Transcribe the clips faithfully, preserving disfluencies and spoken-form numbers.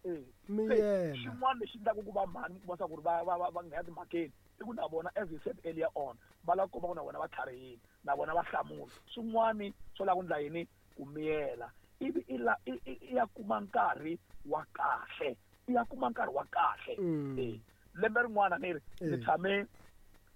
Eh. Miyela. Xin'wana lexi endlaka ku va mhani kuma swa ku ri va va va va nghena timhakeni i ku na vona, as you said earlier on, va lava ku komba ku na vona va tlharihile, na vona va hlamula. Swin'wani swo lava ku endla yini? Ku miyela, ivi i la i i ya kuma nkarhi wa kahle, i ya kuma nkarhi wa kahle. Mm. Eh, lembe rin'wana ni ri ni Eh. tshame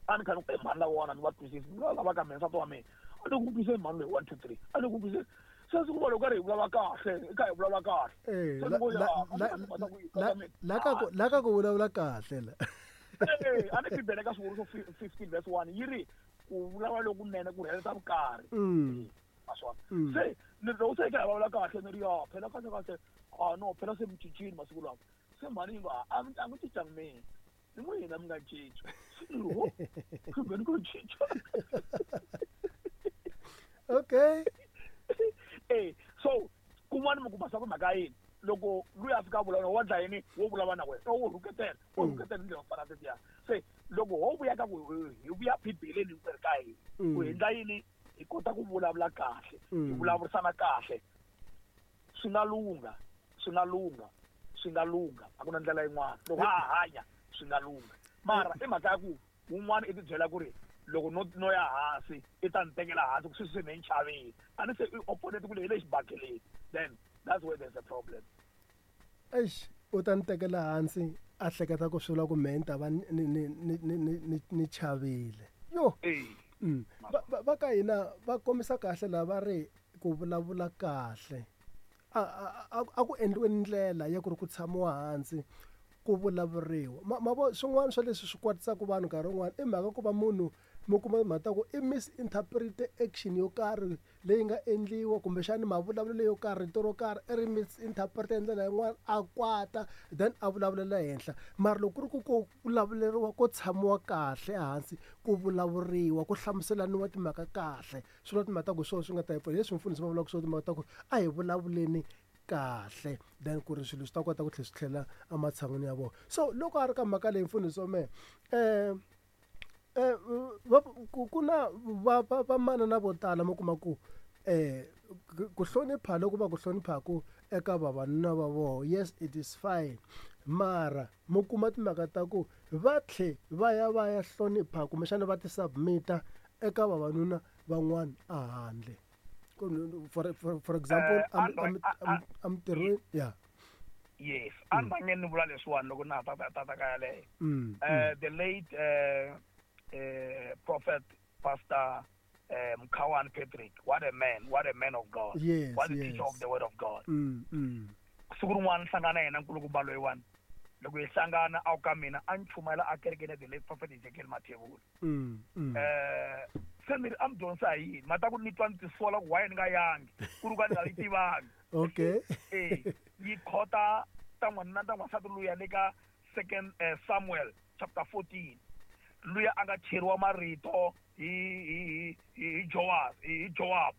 a ni kha ni ku mhani lawona ni va twisisi, ni lava ka mina nsati wa mina a ni ku twisisi mhani loyi one two three, a ni ku twisisi. Se siku va loko karhi hi vulavula kahle, i kha hi vulavula kahle. Eh, Se la ni ku, la ya, a la ni ta ku la mina. la ka ku la ka ku vulavula kahle la. Eh, a ni Bibele ka Swivuriso fifteen verse one yi ri ku vulavula lokunene ku rhelela vukarhi. Mm. Maswona. Mm. Se ni loko se hi kha hi vulavula kahle ni ri ya phela kahle kahle, ah no phela se mi cincile masiku lawa. Se mhani yi ngo a mi a mi cincangi mina, ni n'wina mi nga cinca. Se ni ri ho kumbe ni ku cinca. Okay. Eh, so kun'wana mi kuma swa ku mhaka yini loko luya a fika a vulavula wa dla yini, wo vulavula na wena, wo rhuketela, wo Mm. rhuketela hi ndlela yo fana na tetiya. Se loko ho vuya ka ku hi vuya Bibeleni hinkwerhu ka hina, Mm. ku hi endla yini, hi kota ku vulavula kahle, hi Mm. vulavurisana kahle, swi nga lungha, swi nga lungha, swi nga lungha. A ku na ndlela yin'wana. Loko ha ha hanya swi nga lungha. Mara i mhaka ya ku wun'wana i tibyela ku ri loko no no ya hansi i ta ni tekela hansi ku sweswi se me ni chavile, a ni se i opponent ku le hi le xibakeleni, then that's where there's a problem. Eish, u ta ni tekela hansi a hleketa ku swi vula ku mehe ni ta va ni ni ni ni ni ni ni chavile. Yo. Eh. Mm. Va va va ka hina va kombisa kahle la va ri ku vulavula kahle. A a a ku endliwe ndlela ya ku ri ku tshamiwa hansi ku vulavuriwa. Ma ma vo swin'wana swa leswi swi kwatisaka vanhu nkarhi wun'wani i mhaka ku va munhu mi kuma mhaka ku i misinterprete action yo karhi leyi nga endliwa kumbexani mavulavulelo yo karhi, rito ro karhi i ri misinterprete hi ndlela yin'wana a kwata then a vulavulela henhla. Mara loko ku ri ku ko vulavuleriwa ko tshamiwa kahle ehansi ku vulavuriwa ku hlamuselaniwa timhaka kahle, swi vula timhaka ta ku hi swona swi nga ta hi pfuna. Hi leswi mfundhisi va vulaka swona timhaka ta ku a hi vulavuleni kahle then ku ri swilo swi ta kota ku tlhela swi tlhela ematshan'wini ya vona. So loko a ri ka mhaka leyi mfundhisi wa mehe, eh eh va ku ku na va va vamanana vo tala mi kuma ku eh ku hlonipha loko va ku hloniphaku eka vavanuna va vona, yes it is fine, mara mi kuma timhaka ta ku va tlhe va ya va ya hlonipha kumbexana va ti submit-a eka vavanuna van'wana a handle. For, for, for example, Eh, am Android, am a- a- am emitirhweni, yeah. Yes, a ni rhange ni vula leswiwani loko na ha ta ta ta ka yaleyo. Mm, Eh, the late eh, eh, prophet Pastor eh, Mkhawane Patrick, what a man, what a man of God. Yes, what a yes. teacher of the word of God. Mm, mm. Siku rin'wana ni hlangana na yena nkulukumba loyiwani. Loko hi hlangana a ku ka mina a ni chumayela a kerekeni ya the late prophet Ezekiel Mathebula. Mm, mm. Eh, se ni ri a mi dyondzisa hi yini? Mata ku ni twa ni tisola ku why ni nga yangi, ku ri ku a ni nga yi tivangi. Okay. Eh, yi khota ta n'wanuna ta n'wansati luya le ka second eh, Samuel chapter fourteen. Luya a nga cheriwa marito hi hi hi hi Joab, hi Joab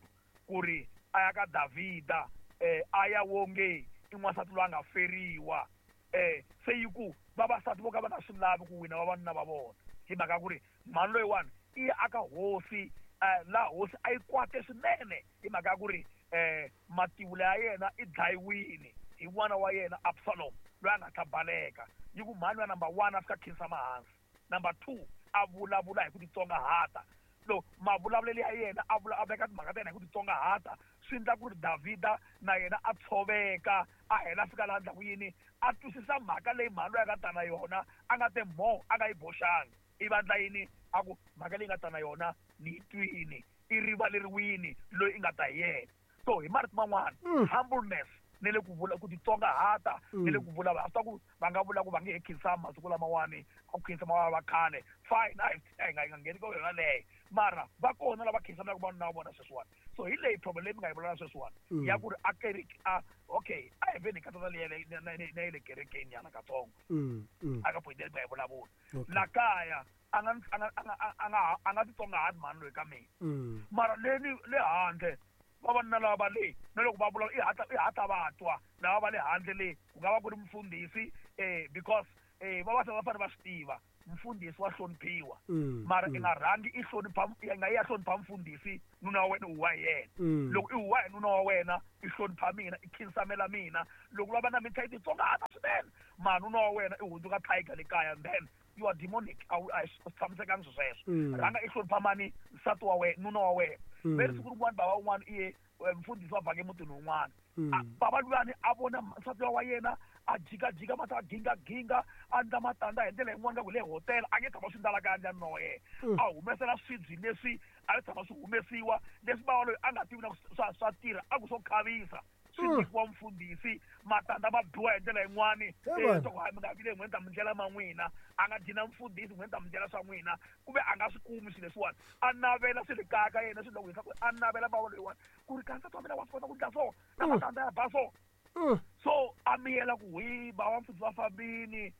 ku ri a ya ka Davhida, eh a ya wonge i n'wansati loyi a nga feriwa. Eh se yi ku vavasati vo ka va nga swi lavi ku wina vavanuna va vona hi mhaka ya ku ri mhani loyiwani i ya aka hosi, eh laha hosi a yi kwate swinene hi mhaka ya ku ri eh mativula ya yena i dlayiwile hi n'wana wa yena Absalom loyi a nga ta baleka. Yi ku mhani wa number one a fika khinsama hansi, number two a vulavula hi ku titsongahata. Lo mavulavulelo ya yena a vula a veka timhaka ta yena hi ku titsongahata, swi endla ku ri Davhida na yena a tshoveka, a hela a fika laha ndlaku yini a twisisa mhaka leyi mhani loyi a nga ta na yona, a nga te mo a nga yi boxangi. I vandla yini a ku mhaka leyi nga ta na yona ni yi twini, i rivaleriwini loyi i nga ta hi yena. So hi marito man'wana, Mm. humbleness ni le ku vula ku titsongahata, ni le Mm. ku vulavula. A swi ta ku va nga vula ku va nge he khinsami masiku lamawani, a ku khinsama va va khale, fine, a hi a hi nga hi nga ngheni ka yona leyo. Mara va kona lava khinsamaka vanuna va vona sweswiwani. So hi leyi problem leyi mi nga yi vulavula sweswiwani, Mm. ya ku ri a kereke, a okay, a hi veni hi katsa na leyi ya le na na na ya le kerekeni nyana katsongo. Mm, mm. A ka point leyi mi nga yi vulavula. Okay. La kaya a nga a nga a nga a nga a nga titsongahati mhani loyi ka mina. Mm. Mara le ni le handle vavanuna lava va le na loko va vulavula i hatla i hatla va twa lava va le handle le, ku nga va ku ri mufundhisi, eh because eh vavasati va fanele va swi tiva mfundhisi wa hloniphiwa Mm, mara mm. i nga rhangi i hlonipha i nga ya hlonipha mfundhisi nuna wa wena u wa yena Mm. loko i huwa hi nuna wa wena i hlonipha mina i khinsamela mina loko va va na mintlha yi titsongahata swinene mara nuna wa wena i hundzuka tiger le kaya and then you are demonic a wu a swi tshamisekangi swi sweswo Mm. rhanga i hlonipha mani nsati wa wena nuna wa wena Mm. ve ri siku rin'wana bava un'wana i ye eh, mfundhisi wa vhake emutini wun'wana Mm. A- bava luyani a vona nsati wa yena a jikajika mati a gingaginga a ndla matandza hi ndlela yin'wana nga ku le hotela a nge tshama swi ndala kaya ndla wa yena Mm. a humesela swibyi leswi a swi tshama swi humesiwa leswi bava loyi a nga tivi na ku swa swa tirha a ku swo khavisa swi Mm. nyikiwa mfundhisi matandza ma biwa hi ndlela yin'wani He Eh, vanhu. swa ku hayi mi nga vile n'hweti ta mi ndlela ma n'wina a nga dyi na mfundhisi n'hweti ta mi ndlela swa n'wina kumbe a nga swi kumi swilo leswiwani a navela swi le kaya ka yena swi loko ku a navela bava loyiwani ku ri ka nsati wa mina wa swi kota ku ndla so na Mm. matandza ya ba so Mm. so a miyela ku hi bava mfundhisi va fambini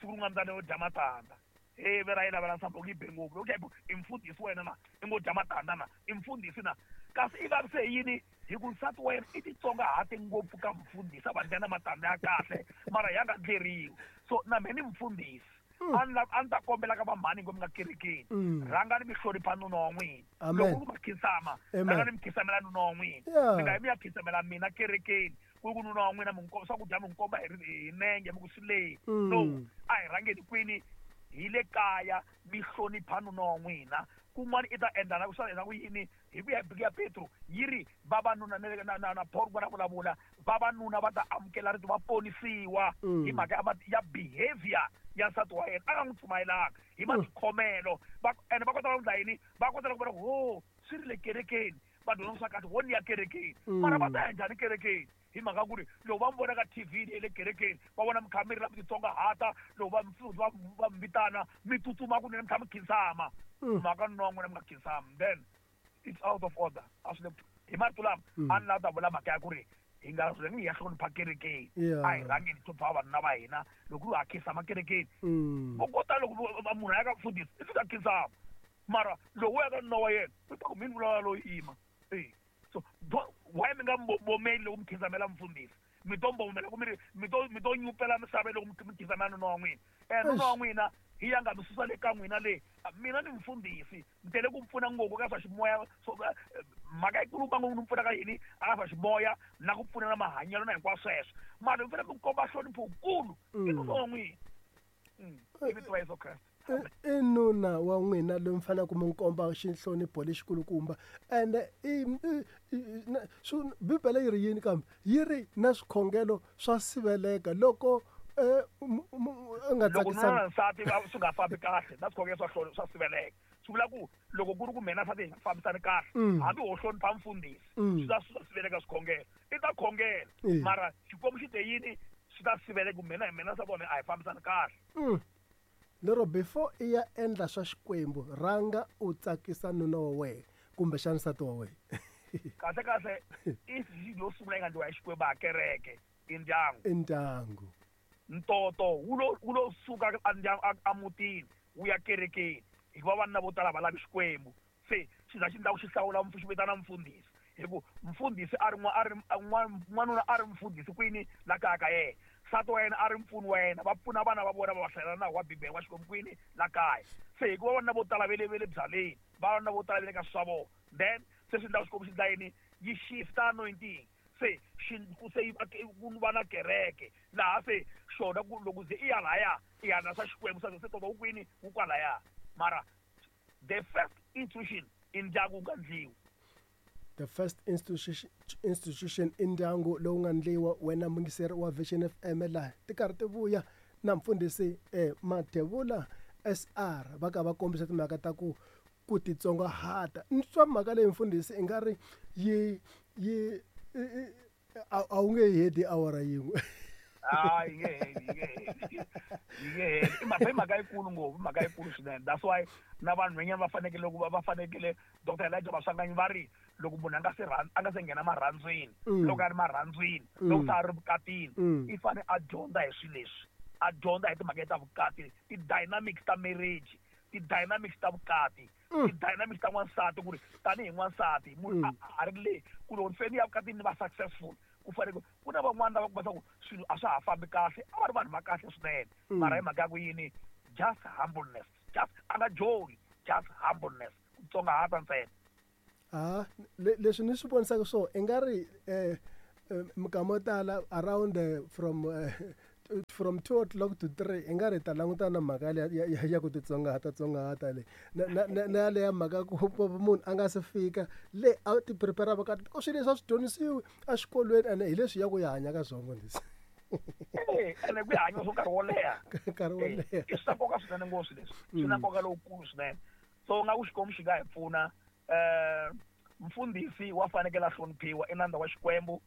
siku rin'wana ndza yo dya matandza he ve ra yi lavela nsambo ku yi be ngopfu okay i mfundhisi wena na i ngo dya matandza na i mfundhisi na kasi i vavise hi yini hi ku nsati wa yena i titsongahate ngopfu ka mfundhisi a va ndla na matandza ya kahle mara ya nga ndleriwi so na mehe ni mfundhisi Mm. a ni la- a ni ta kombela ka vamhani ngo mi nga kerekeni Mm. rhangani mi hlonipha nuna wa n'wina Amen. loko ku ma khinsama Amen. rhangani mi khisamela nuna wa n'wina Yeah. mi nga yi mi ya khisamela mina kerekeni ku ri ku nuna wa n'wina mi n'wi komba swakudya mi n'wi komba hi ri- hi nenge mi ku swi leyi Mm. no a hi rhangeni kwini hi le kaya mi hlonipha nuna wa n'wina kun'wana i ta endla na swa endla ku yini hi ku ya hi buku ya Petro yi ri vavanuna na na na na Paul va vulavula vavanuna va ta amukela rito va ponisiwa Mm. hi mhaka ya ma- ya behavior ya nsati wa yena a nga n'wi pfumayelanga hi matikhomelo va ene va kota ku endla yini va kota ku vona ku ho swi ri le kerekeni va dyondza swa kahle ho ni ya kerekeni Mm. mara va ta ya njhani kerekeni hi mhaka ku ri loko va mi vona ka T V leyi le kerekeni va vona mi kha mi ri la mi titsongahata loko va mi va va mi vitana mi tsutsuma kunene mi kha mi khinsama Mm. mhaka nuna wa n'wina mi nga khinsami then it's out of order a swi le hi marito lama Mm. a ni lava ta vula mhaka ya ku ri hi nga rhangi hi ya hlonipha kerekeni Yeah. a hi rhangeni hi hlonipha vavanuna va hina loko ri ha khinsama kerekeni Mm. vo kota loko vo- va- munhu a ya ka mfundhisi i fika khinsama mara loko u ya ka nuna wa yena u ta ku mini vulavula loyi yima e so do- why mi nga mbomeli loko mi khinsamela mfundhisi mi to mbomela ku mi ri mi to mi to nyupela misava loko mi mi khinsamela nuna wa n'wina um nuna wa n'wina hi ya nga mi susa le ka n'wina le mina ni mfundhisi ni tele ku pfuna ngopfu ka swa ximoya so eh, mhaka yikulukumba ngopfu ni pfuna ka yini aka swa ximoya na ku pfuna na mahanyelo na hinkwaswo sweswo mara mi fanele mi komba nhlonipho wukulu i Mm. nuna wa n'wina Mm. Hi vito ra Yesu Kreste I- i nuna wa n'wina loyi mi faneleke mi n'wi komba xinhlonipho lexikulukumba ende i i- i- na- swi- bibele yi ri yini kambe yi ri na swikhongelo swa siveleka loko eh, mu- mu- u nga loko nuna tsakisanga na nsati va- swi nga fambi kahle na swikhongelo swa hloni swa siveleka swi vula ku loko ku ri ku mina nsati hi nga fambisani kahle Mm. hambi ho hlonipha mfundhisi Mm. swi ta swi ta siveleka swikhongelo i ta khongela Eh. mara xikwembu xi te yini swi ta siveleka ku mina hi mina nsati wa mina a hi fambisani kahle Mm. Lero before i ya endla swa xikwembu rhanga u tsakisa nuna wa wena kumbexana nsati wa wena kahle kahle i yo sungula yi nga ndliwa hi xikwembu a kereke i ndyangu i ndyangu ntoto wu lo wu lo suka a ndyangu a- a mutini wu ya kerekeni hikuva vanuna vo tala va lavi xikwembu se xi za xi ndla ku xi hlawula mfu- xi vitana mfundhisi hi ku mfundhisi a ri n'wa- a ri a n'wa- n'wanuna a ri mfundhisi kwini la kaya ka yena nsati wa yena a ri mpfuni wa yena va pfuna vana va vona va va hlayela nawu wa bibele wa xikwembu kwini la kaya se hikuva vanuna vo tala ve le ve le byaleni vanuna vo tala ve le ka swa vona then se swi ndla xikwembu xi ndla yini yi shifta anointing se xi ku se yi va ku va na kereke laha se xona ku loko ze i ya laya i ya na swa xikwembu swa se toto wu kwini wu kwalaya mara the first institution i ndyangu wu nga ndliwi the first institution, institution i ndyangu lowu nga ndliwa wena mungiseri wa Vision F M laha ti karhi ti vuya na mfundhisi eh, Mathebula S R va ka va kombisa timhaka ta ku ku titsongahata ni twa mhaka leyi mfundhisi i nga ri yi yi i- i- a a wu nge yi heti awara yin'we hayi yi nge heli yi nge heli yi nge heli i mhaka i mhaka yikulu ngopfu i mhaka yikulu swinene that's why na vanhwanyana va fanekele ku va va fanekele Doctor Elijah Maswanganyi va ri loko munhu a nga se rhan- a nga se nghena marhandzwini Mm. loko a ri marhandzwini Mm. loko se a ri vukatini Mm. i fane a dyondza hi swilo leswi a dyondza hi timhaka ta vukati ti-dynamics ta marriage ti-dynamics ta vukati Mm. ti-dynamics ta n'wansati ku ri tanihi n'wansati munhu Mm. a a ri le ku loko ni fanele ni ya vukatini ni va successful ku fanele ku na van'wana lava kuma ku swilo a swa ha fambi kahle a va ri vanhu va kahle swinene Mm. mara hi mhaka ya ku yini Just humbleness. Just a nga joli, just humbleness. Ku tsongahata ntsena. Ah, leswi ni swi vonisaka so i nga ri eh minkama yo tala around uh, from uh, from two o'clock to three i nga ri ta langutana na mhaka ya ya ku titsongahata tsongahata leyi na na na yaleya mhaka ku munhu a nga se fika le a ti prepare ka because swilo leswi a swi dyondzisiwi exikolweni ene hi leswi ya ku ya hanya ka swona mfundhisi. Eh, ene ku ya hanya swo nkarhi wo leha. Nkarhi wo leha. I swa nkoka swinene ngopfu leswi. Swi na nkoka lowukulu swinene. So nga ku Xikwembu xi nga hi pfuna eh mfundhisi wa fanekele a hloniphiwa i nandza wa Xikwembu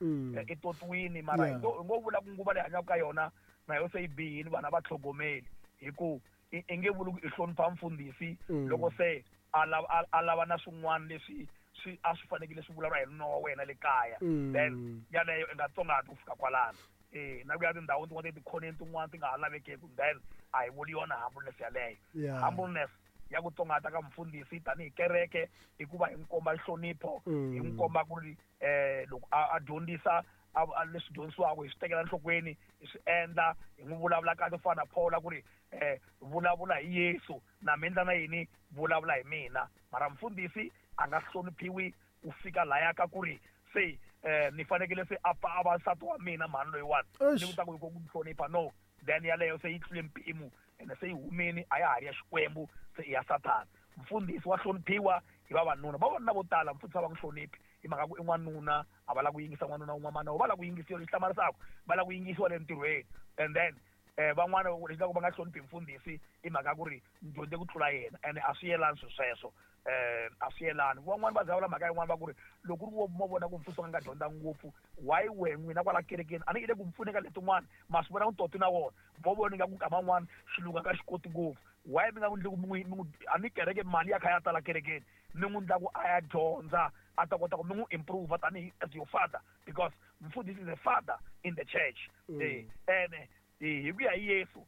i totiwini mara hi ngo vula ku nguva leyi hanyaka ka yona na yo se yi bihile vana va tlhogomeli hi ku i nge vuli ku i hlonipha mfundhisi loko se a lava a lava na swin'wana leswi swi a swi fanekele swi vulavula hi nuna wa wena le kaya then yaleyo i nga tsongahati ku fika kwalano. Eh na ku ya tindhawini tin'wana tikhoneni tin'wana ti nga ha lavekeki then a hi vuli yona humbleness yaleyo. Humbleness ya ku tsongahata ka mfundhisi tanihi kereke i ku va hi n'wi komba nhlonipho, hi n'wi komba ku ri eh loko a dyondzisa a leswi dyondzisiwaka hi swi tekela enhlokweni hi swi endla hi n'wi vulavula kahle ku fana na Paul ku ri eh vulavula hi Yesu na mi endla na yini vulavula hi mina. Mara mfundhisi a nga hloniphiwi ku fika laya ka ku ri se eh ni fanekele se a pfa a va nsati wa mina mhani loyiwani ni ku ta ku ku hlonipha no then yaleyo se yi tlule mpimo ene se yi humini a ya ha ri ya Xikwembu se i ya Sathana. Mfundhisi wa hloniphiwa hi vavanuna, vavanuna vo tala mfundhisi a va n'wi hloniphi hi mhaka ku i n'wanuna a va lava ku yingisa n'wanuna wun'wana va lava ku yingisiwa lexi hlamarisaka va lava ku yingisiwa le ntirhweni and then eh van'wana lexi loko va nga hloniphi mfundhisi i mhaka ku ri ni dyondze ku tlula yena ene a swi yelani swilo sweswo eh a swi yelani. Van'wani va za vula mhaka yin'wana va ku ri loko ku ri wo mo vona ku mfundhisi wa nga dyondza ngopfu why we n'wina kwala kerekeni a ni i le ku mi pfuneka letin'wana ma swi vona ku toti na wona mo vona ingaku nkama wun'wana xilungu a nga xi koti ngopfu why mi nga n'wi ndli ku mi n'wi a ni kereke mali ya kha ya tala kerekeni mi n'wi ndla ku a ya dyondza a ta kota ku mi n'wi improve tanihi as your father because mfundhisi is a father in the church. Eh ene hi ku ya hi Yesu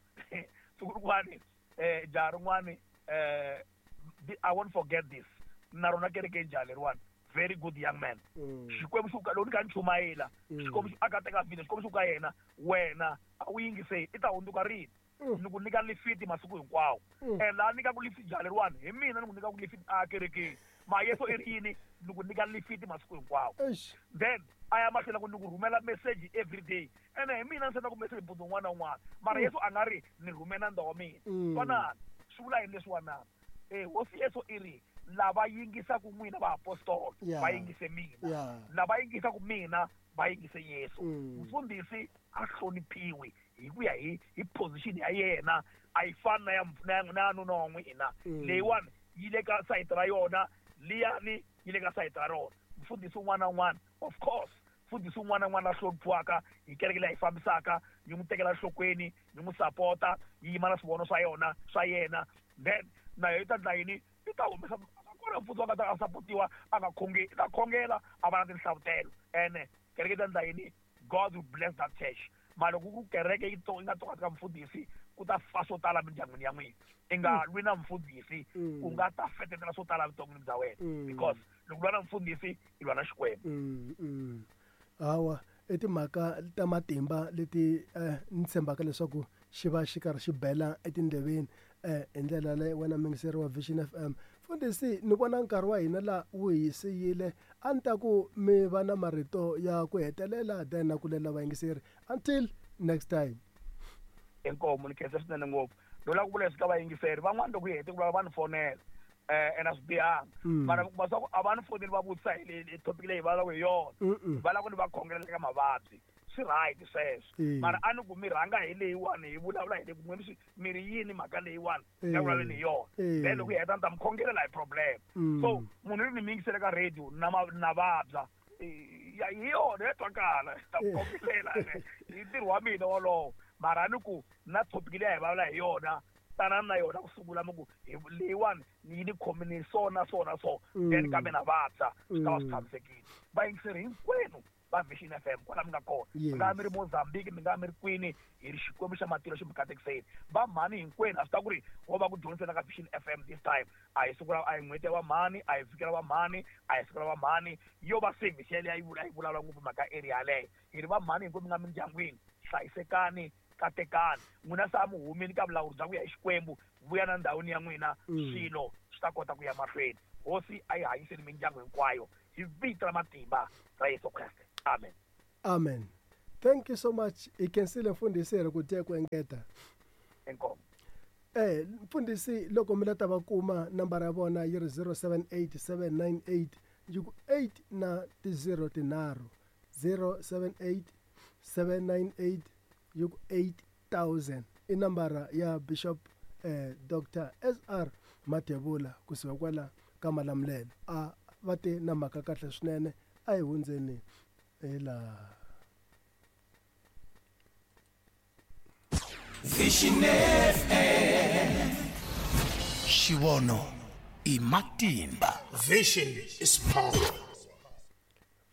siku rin'wani eh jaha rin'wani eh I won't forget this na rona kerekeni jaha leriwani very good young man. Xikwembu xi ku loko ni kha ni chumayela Xikwembu a ka teka video Xikwembu xi ku ka yena wena a wu yingiseli i ta hundzuka rini ni ku nyika lifiti masiku hinkwawo and laha nyikaku lifiti jaha leriwani hi mina ni ku nyikaku lifiti a kerekeni ma Yesu i ri yini ni ku nyika lifiti masiku hinkwawo then a ya mahlweni ku ni ku rhumela message every day ene hi mina ni sendaku message mpundzu wun'wana na wun'wana mara Yesu a nga ri ni rhumela nandza wa mina twanani swi vula yini leswiwanana eh hosi Yesu i ri lava yingisaku n'wina vaapostolo va yingise mina lava yingisaku mina va yingise Yesu. Mfundhisi a hloniphiwi hi ku ya hi hi position ya yena a yi fani na ya na nuna wa n'wina leyiwani yi le ka sayiti ra yona liyani yi le ka sayiti ra rona. Mfundhisi un'wana na un'wana of course mfundhisi un'wana na un'wana la hloniphiwaka hi kereke leyi a yi fambisaka yi n'wi tekela enhlokweni yi n'wi sapota yi yima na swivono swa yona swa yena then na yona yi ta endla yini yi ta humesa kona mfundhisi wa nga ta a sapotiwa a nga khongeli i ta khongela a va na tinhlavutelo ene kereke yi ta endla yini God will bless that church. Mara loko ku kereke yi yi nga tsongahati ka mfundhisi ku ta fa swo tala mindyangwini ya n'wina i nga lwi na mfundhisi u nga ta fetetela swo tala evuton'wini bya wena because loko lwa na mfundhisi i lwa na Xikwembu. Hawa i timhaka ta matimba leti ni tshembaka leswaku xi va xi karhi xi bela etindleveni eh hi ndlela leyi wena muyingiseri wa Vision F M. Mfundhisi ni vona nkarhi wa hina la wu hi siyile a ni ta ku mi va na marito ya ku hetelela then na ku lela vayingiseri until next time. Inkomu ni khensa swinene ngopfu no lava ku vula leswi ka vayingiseri van'wana loko hi hete ku vulavula va ni fonela eh ene a swi bihanga mara ku va swa ku a va ni foneli va vutisa hi leyi topic leyi va lavaka hi yona va lava ku ni va khongelela ka mavabyi swi right sweswo mara a ni ku mi rhanga hi leyiwani hi vulavula hi le ku n'we mi ri yini mhaka leyiwani ya vulavuleni hi yona then loko hi heta ni ta mi khongelela hi problem. So munhu ri ni mi yingisele ka radio na na vabya hi yona ya twakala ta mi khongelela hi ntirho wa mina wolowo mara a ni ku na topic leyi a hi vulavula hi yona tanani na yona ku sungula mi ku leyiwani yi ni khomini so na so na so then kambe na vabya swi ta va swi tshamisekile. Vayingiseri hinkwenu va Vision F M kwala mi nga kona mi nga mi ri Mozambique mi nga mi ri kwini hi ri Xikwembu xa matilo xi mi katekiseni va mhani hinkwenu a swi ta ku ri wo va ku dyondzisela ka Vision F M this time a hi siku ra a hi n'hweti ya va mhani a hi vhiki ra va mhani a hi siku ra va mhani yo va service yaleyo a yi vula a yi vulavula ngopfu mhaka area yaleyo hi ri va mhani hinkwenu mi nga mindyangwini hlayisekani Katekani n'wina se a mi humini ka vulawuri bya ku ya hi Xikwembu, vuya na ndhawini ya n'wina, swilo swi ta kota ku ya mahlweni. Hosi a yi hanyiseni mindyangu hinkwayo hi vito ra matimba ra Yesu Kreste. Amen. Amen. Thank you so much. Hi khensile mfundhisi hi ri ku tiya ku engeta. Inkomu. Eh mfundhisi loko mi la ta va kuma nambara ya vona yi ri zero seven eight seven nine eight yi ku eight na ti zero tinharhu, zero seven eight seven nine eight yi ku eight thousand i nambara ya Bishop eh Doctor S R Mathebula kusuka kwala ka Malamulele. A va te na mhaka kahle swinene, a hi hundzeni hi laha. Vision F M. Xivono i matimba. Vision is power.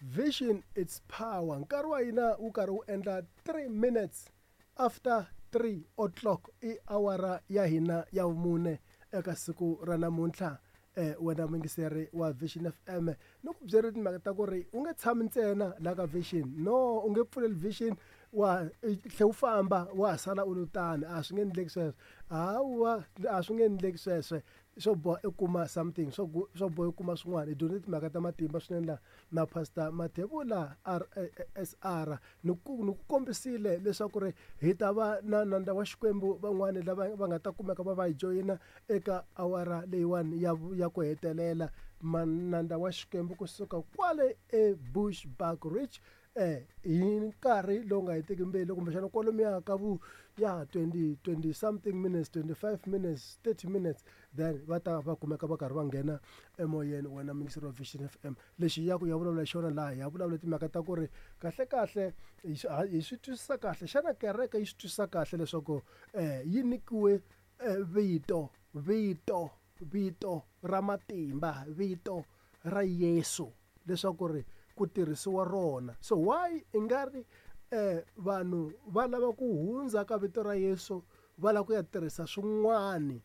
Vision is power. Nkarhi wa hina wu karhi wu endla three minutes after three o'clock i awara ya hina ya vumune eka siku ra namuntlha. Eh wena muyingiseri wa Vision F M, ni ku byela timhaka ta ku ri u nge tshami ntsena la ka Vision. No, u nge pfuleli Vision wa tlhe u famba wa ha sala u lo tani, a swi nge endleki sweswo. Hawa, a swi nge endleki sweswo. Swo boha i kuma something, swo gu-, swo boha i kuma swin'wana. Hi dyondze timhaka ta matimba swinene la na Pastor Mathebula R S R. Ni ku, ni ku kombisile leswaku ri hi ta va na nandza wa Xikwembu van'wani lava va nga ta kumeka va va hi joyina eka awara leyiwani ya, ya ku hetelela. Manandza wa Xikwembu kusuka kwale eBushbuckridge, eh, hi nkarhi lowu nga hetiki mbilu kumbexana kwalomuya ka vu ya twenty, twenty something minutes, twenty-five minutes, thirty minutes, then va ta va kumeka va karhi va nghena emoyeni wena muyingiseri wa Vision F M. Lexi ya ku ya vulavula xona laha, ya vulavula timhaka ta ku ri kahle kahle hi swi, ha, hi swi twisisa kahle. Xana kereke yi swi twisisa kahle leswaku, eh, yi nyikiwe, eh, vito, vito, vito ra matimba, vito ra Yesu leswaku ri ku tirhisiwa rona. So why i nga ri, eh, vanhu va lava ku hundza ka vito ra Yesu va lava ku ya tirhisa swin'wani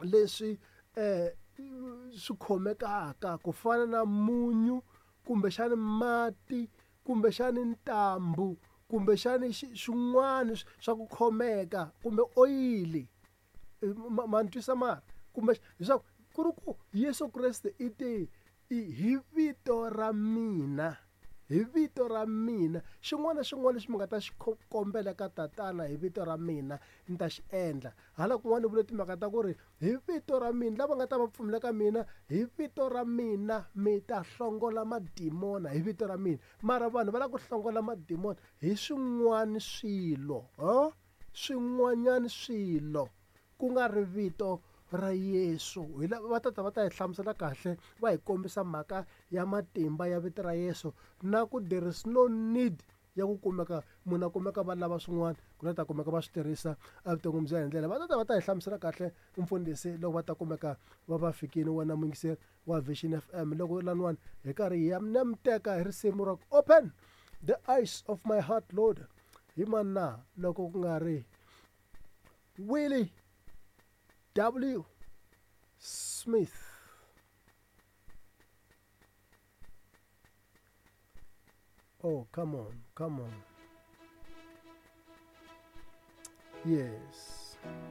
leswi, eh, swi khomekaka ku fana na munyu kumbexani mati kumbexani ntambu kumbexani xi-, swin'wani sw-, swa ku khomeka kumbe oyili. Eh, ma, ma ni twisa mara? Kumbe leswaku ku ri ku Yesu Kreste i te i hi vito ra mina, hi vito ra mina, xin'wana na xin'wana lexi mi nga ta xi kho-, kombela ka Tatana hi vito ra mina ni ta xi endla. Hala kun'wana vule timhaka ta ku ri hi vito ra mina, lava nga ta va pfumela ka mina hi vito ra mina mi ta hlongola madimona hi vito ra mina. Mara vanhu va lava ku hlongola madimona hi swin'wana swilo, ho? Swin'wanyana swilo ku nga ri vito ra Yesu. Hi lava va tata va ta hi hlamusela kahle, va hi kombisa mhaka ya matimba ya vito ra Yesu na ku there is no need ya ku kumeka munhu a kumeka va lava swin'wana ku na ta kumeka va swi tirhisa evuton'wini bya hi ndlela. Va tata va ta hi hlamusela kahle mfundhisi loko va ta kumeka va va fikile wena muyingiseri wa Vision F M. Loko laniwani hi karhi hi ya na mi teka hi risimu ra Open the Eyes of My Heart Lord hi mani na loko ku nga ri Willie W. Smith. Oh, come on, come on. Yes.